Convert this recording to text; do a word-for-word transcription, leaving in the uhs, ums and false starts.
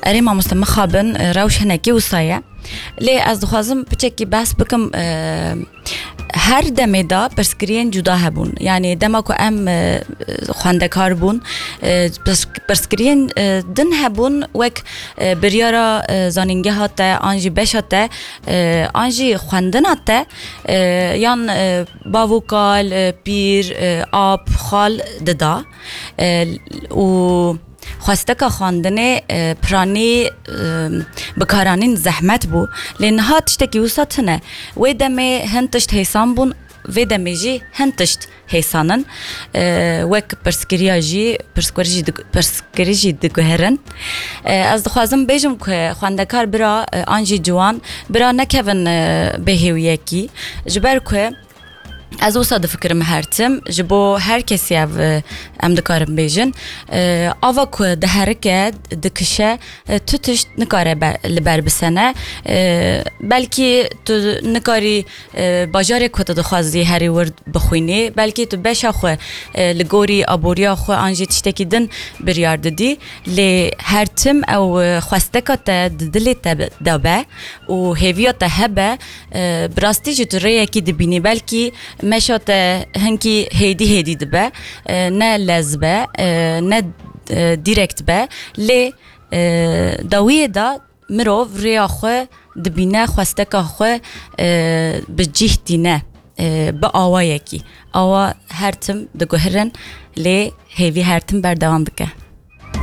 Erê mamoste, mixabin, e, rewş hinekî wisa ye. Lê ez dixwazim piçekî behs bikim, e, her demê de pirsgiriyên cuda hebûn. Yanî dema ku em, e, xwendekar bûn, e, pirs-, pirsgiriyên, e, din hebûn, wek, e, biryara, e, zanîngeha te, an jî beşa te, e, an jî xwendina te, e, yan, e, bav û kal, e, pîr, e, ap, xal dida. E, û xwesteka xwendinê, e, piranî, e, bikaranîn zehmet bû. Lê niha tiştekî wisa tune. Wê demê hin tişt hêsan bûn, vê demê jî hin tişt hêsan in. E, wek pirsgiriya jî, pirsgirî jî dig-, pirsgirî jî diguherin. E, ez dixwazim bêjim ku xwendekar bira, e, an jî ciwan, bira nekevin, e, bêhêwiyekî. Ji ber ku ez wisa difikirim her tim, ji bo her kesî ev, e, em dikarin bêjin. E, ava ku diherike, dikişe, e, tu tişt nikare be-, li ber bisene. E, belkî tu nikarî, e, bajarê ku tu dixwazî herî wir bixwînî, belkî tu beşa xwe, e, li gorî aboriya xwe an jî tiştekî din biryar didî. Lê her tim ew, e, xwesteka te di dilê te be, de be û hêviya te hebe, e, bi rastî jî tu rêyekî dibînî. Belkî meşa te hinkî hêdî hêdî dibe, e, ne lez be, e, ne, e, direkt be. Lê, e, dawiyê de mirov rêya xwe dibîne, xwesteka xwe, e, bi cih tîne, e, bi awayekî. Awa her tim diguhirin, lê hêvî her tim berdewam dike.